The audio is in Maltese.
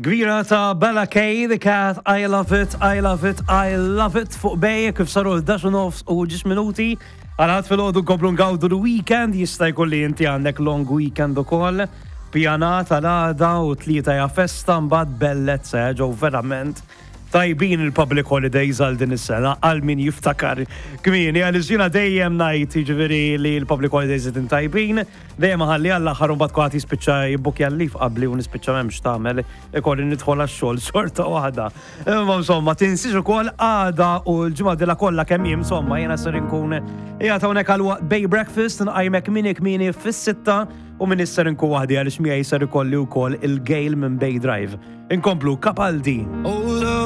Kbira ta' Bella K, The Cat, I Love It, I Love It, I Love It fuq bej kif saru l-11 nofs u ġis minuti. Għal-ħadd fil-ħodu nkomplu ngawdu l-weekend, jista' jkun li inti għandek long weekend ukoll. Pjanat għal-għada u tlieta ja festa mbagħad bellezza eh, ġew verament tajbin il-public holidays għal din is-sena għal min jiftakar kmieni għaliex jiena dejjem ngħid jiġifieri li l-public holidays qegħdin tajbin. Dejjem iħalli għall-aħħar u mbagħad kulħadd jispiċċa jibbukkja l-leave qabli u nispiċċa m'hemmx tagħmel ikolli nidħol għax-xogħol xorta waħda. Imma insomma tinsiex ukoll għada u l-ġimgħa dila kollha kemm hi insomma jiena ser inkun qiegħed hawnhekk għal waqt Bay Breakfast nqajmek minn kmieni fis-sitta u minn ser inkun waħdi għaliex miegħi ser ikolli wkoll il-Gail minn Bay Drive. Inkomplu Capaldi.